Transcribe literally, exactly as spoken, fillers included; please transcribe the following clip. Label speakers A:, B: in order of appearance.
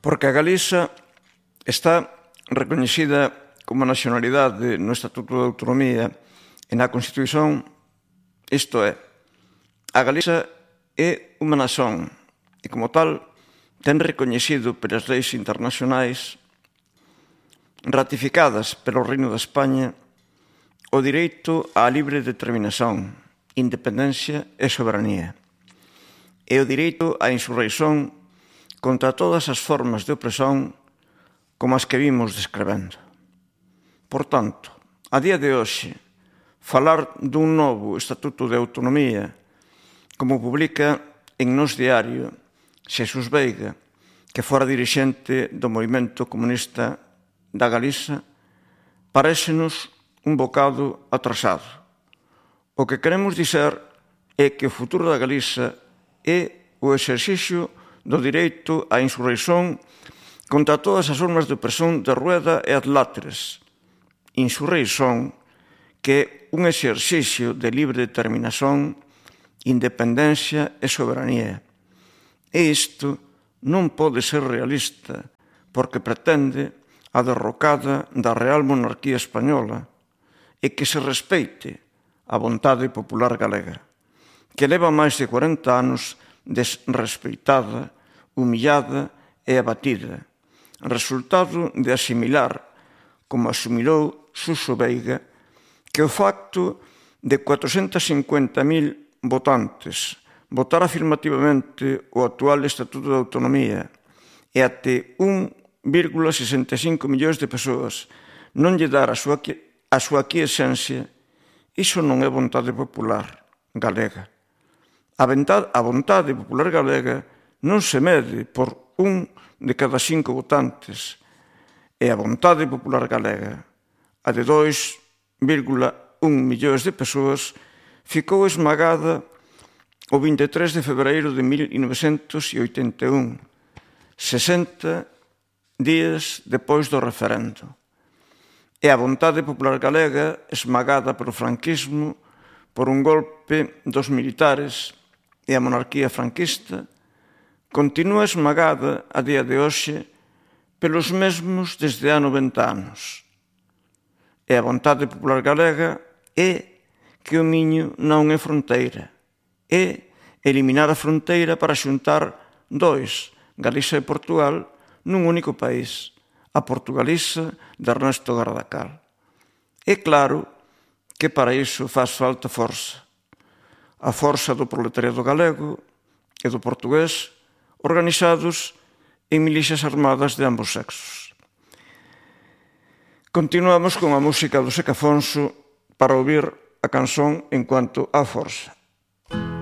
A: Porque a Galiza está recoñecida como nacionalidade no Estatuto de Autonomía e na Constitución, isto é, a Galiza é unha nación e, como tal, ten recoñecido pelas leis internacionais ratificadas pelo Reino de España o direito á libre determinación, independencia e soberanía, e o direito á insurreición contra todas as formas de opresión como as que vimos descrevendo. Por tanto, a día de hoxe, falar dun novo Estatuto de Autonomía, como publica en Nós Diario Xesús Veiga, que fora dirixente do movimento comunista da Galiza, parécenos un bocado atrasado. O que queremos dizer é que o futuro da Galiza é o exercicio do direito á insurreición contra todas as formas de opresión de Rueda e Adláteres. Insurreición que é un exercicio de libre determinación, independencia e soberanía. E isto non pode ser realista porque pretende a derrocada da Real Monarquía Española e que se respeite a vontade popular galega, que leva máis de cuarenta anos desrespeitada, humillada e abatida, resultado de asimilar, como asimilou Suso Veiga, que o facto de cuatrocentos e cincuenta mil votantes votar afirmativamente o actual Estatuto de Autonomía e até un vírgula sesenta e cinco millóns de persoas non lle dar a súa, a súa quiesencia, iso non é vontade popular galega. A vontade, a vontade popular galega non se mede por un de cada cinco votantes, e a vontade popular galega, a de dois vírgula un millóns de persoas, ficou esmagada o vinte e tres de febreiro de mil novecentos e oitenta e un, sesenta días depois do referendo. E a vontade popular galega, esmagada polo franquismo, por un golpe dos militares e a monarquía franquista, continúa esmagada a día de hoxe pelos mesmos desde há noventa anos. E a vontade popular galega é que o Miño non é fronteira, é eliminar a fronteira para xuntar dois, Galiza e Portugal, nun único país, a Portugaliza de Ernesto Gardacal. É claro que para iso faz falta forza. A forza do proletariado galego e do portugués organizados en milicias armadas de ambos sexos. Continuamos con a música do Seca Afonso para ouvir a canción En cuanto á forza.